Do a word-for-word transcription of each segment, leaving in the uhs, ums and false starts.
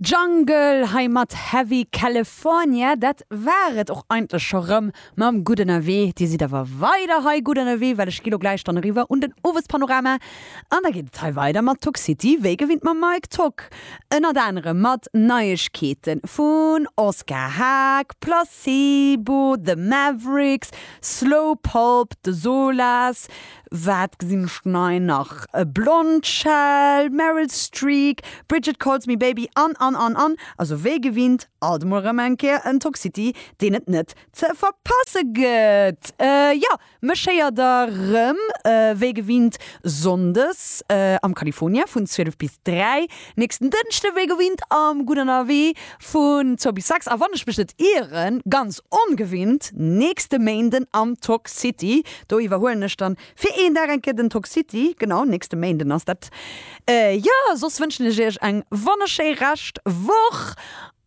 Jungle hei mat Heavy California, dat war et och eigentlech scho rëm mam Gutt Ënnerwee. Dir sidd awer weider hei gutt ënnerwee, well ech gi lo gläich dann eriwwer un den Owespanorama an da geet et hei weider mat Tock City, wéi gewinnt mam Mike Tock. Ënnert anerem mat Neiegkeete vun Oscar Haag, Placebo, The Mavericks, Slow Pulp, The Solas, wat gesinn ech nei nach, Blondshell, Meryl Streak, Bridget Calls Me Baby an an an an. Also wéi gewinnt alt emol rëm eng Kéier en Tock City, deen et net ze verpasse gëtt. Jo, mech héiert der rëm wéi gewinnt Sonndes am California vun zwielef bis dräi, nächsten Dënschde wéi gewinnt am Gutt Ënnerwee vun zwou bis sechs a wann ech mech net ieren, ganz ongewinnt nächste Méinden am Tock City. Do iwwerhuelen ech dann fir een Dag eng Kéier den Tock City. Genau, nächste Méinden ass dat. Jo, soss wënschen ech iech eng wonnerschéi Rescht Woch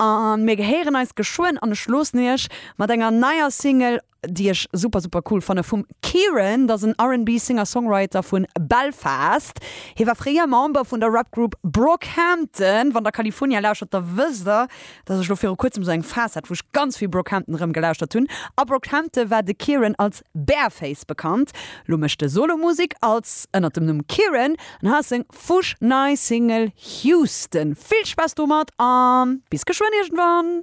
a mir gehéieren eis geschwënn an ech loossen iech mat enger neier Single, déi ech super super cool fanne vum Kieran, dat ass en R and B Singer-Songwriter vun Belfast. Hie war fréier Member vun der Rap Group Brockhampton. Wann der California lauschtert, da wësst der, dass ech lo viru kuerzem sou eng Phas hat, wou ech ganz vill Brockhampton erëm gelauschtert hunn. A Brockhampton war de Kieran als Bearface bekannt. Lo mécht e Solo-Musek als ënnert dem Numm Kieran an hei ass seng fuschnei Single Houston. Vill Spaass domat a bis geschwënn iergendwann!